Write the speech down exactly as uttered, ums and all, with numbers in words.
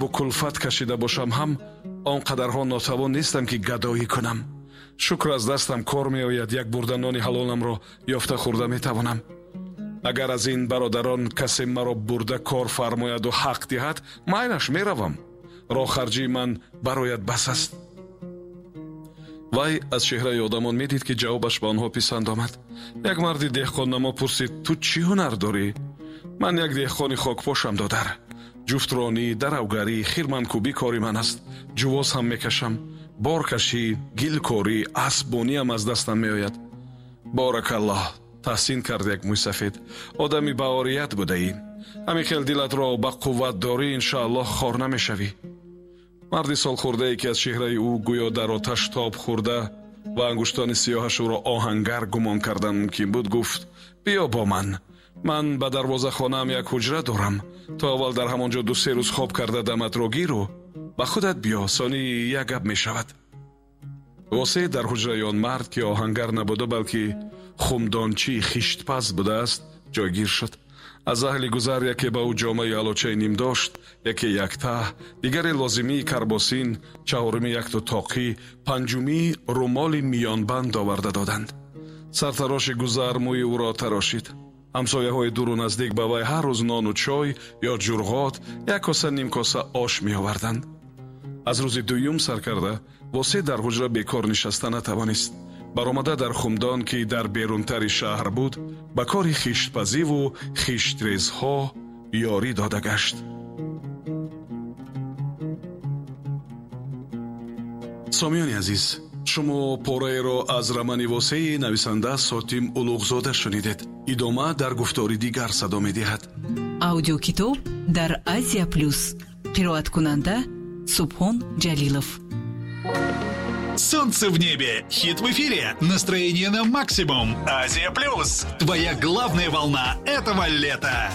азобу кулфат кашида бошам ҳам, он қадарҳо нотавон нестам, ки гадоӣ кунам. Шукр, аз дастам кор меояд, як бурда нони ҳалоламро ёфта хӯрда метавонам. Агар аз ин бародарон касе маро бурда кор фармояду ҳақ диҳад, майлаш, меравам. Роҳхарҷии ман барояд бас аст. Вай аз чеҳраи одамон медид, ки ҷавобаш ба онҳо писанд омад. Як марди деҳқоннамо пурсид: «Ту чӣ ҳунар дорӣ?» «Ман як деҳқони хокпошам, додар. Ҷуфтронӣ, даравгарӣ, хирманкӯбӣ кори ман аст. Ҷувоз ҳам мекашам. Боркашӣ, гилкорӣ, аспбониам аз дастам меояд». «Боракаллоҳ», таҳсин кард як мӯйсафед. «Одами баорият будаӣ. Ҳамин хел дилатро ба қувват дорӣ, иншоаллоҳ хор намешавӣ». Марди солхӯрдае, ки аз чеҳраи ӯ гӯё дар оташ тоб хӯрда ва ангуштони сиёҳаш ӯро оҳангар гумон кардан мумкин буд, гуфт: «Биё бо ман. Ман ба дарвозахонаам як ҳуҷра дорам. То аввал дар ҳамон ҷо ду се рӯз хоб карда даматро гиру ба худат биё, сони як гап мешавад». Восе дар ҳуҷраи он мард, ки оҳангар набуда, балки хумдончии хиштпаз будааст, ҷойгир шуд. Аз аҳли гузар яке ба ӯ ҷомаи алочаи ним дошт, яке яктаҳ, дигаре лозимии карбосин, чаҳорумӣ якту тоқӣ, панҷумӣ румоли миёнбанд оварда доданд. Сартароши гузар мӯи ӯро тарошид. Ҳамсояҳои дуру наздик ба вай ҳар рӯз нону чой ё ҷурғот, як коса, ним коса ош меоварданд. Аз рӯзи дуюм сар карда Восе дар ҳуҷра бекор нишаста натавонист. Баромада дар хумдон, ки дар берунтари шаҳр буд, ба кори хиштпазиву хиштрезҳо ёрӣ дода гашт. Сомиёни азиз, шумо пораеро аз романи Восеи нависанда Сотим Улуғзода шунидед. Идома дар гуфтори дигар садо медиҳад. Аудиокитоб дар Азия Плюс. Қироаткунанда Субҳон Ҷалилов. Солнце в небе, хит в эфире, настроение на максимум. Азия Плюс, твоя главная волна этого лета.